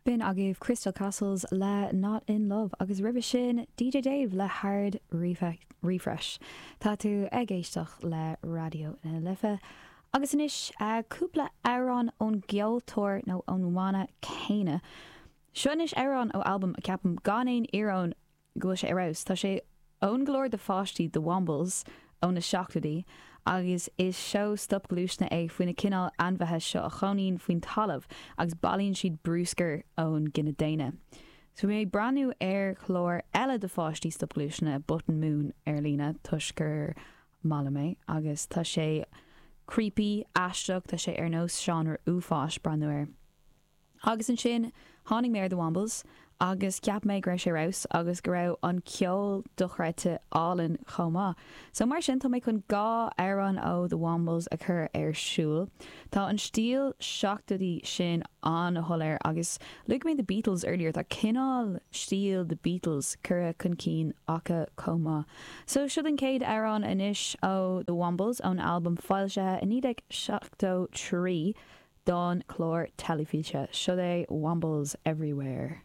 B'in agaibh Crystal Castles le Not In Love agus roimhe sin DJ Dave le Hard Refresh. Tá tú ag éisteacht le Raidió na Life agus anois cúpla amhrán ón gceoltóir nó ón mbanna céanna. Seo anois amhrán ó albam a ceapaim gan aon íoróin go bhfuil sé ar fheabhas. Tá sé ón gclár do pháistí The Wombles ó na seachtóidí agus is seó stopghluaisne é faoi na cineál ainmhithe seo a chónaíonn faoin talamh agus bailíonn siad brúscar ón gcine daonna. So bhí mé ag breathnú ar chlár eile do pháistí stopghluaisne, Button Moon, ar líne toisc gur maith liom é agus tá sé creepy, aisteach, tá sé ar nós seánra uafáis breathnú air. Agus ansin tháinig mé ar The Wombles agus cheap mé go raibh sé ar fheabhas agus go raibh an ceol dochreidte álainn chomh maith. So mar sin tá mé chun 2 amhrán ó The Wombles a chur ar siúl. Tá an stíl seachtóidí sin an-shoiléir agus luaigh mé The Beatles earlier, tá cineál stíl The Beatles curtha chun cinn acu chomh maith. So siod an chéad amhrán anois ó The Wombles ón albam foilsithe i 1973. don chlár teilifíse. Siod é Wombles Everywhere.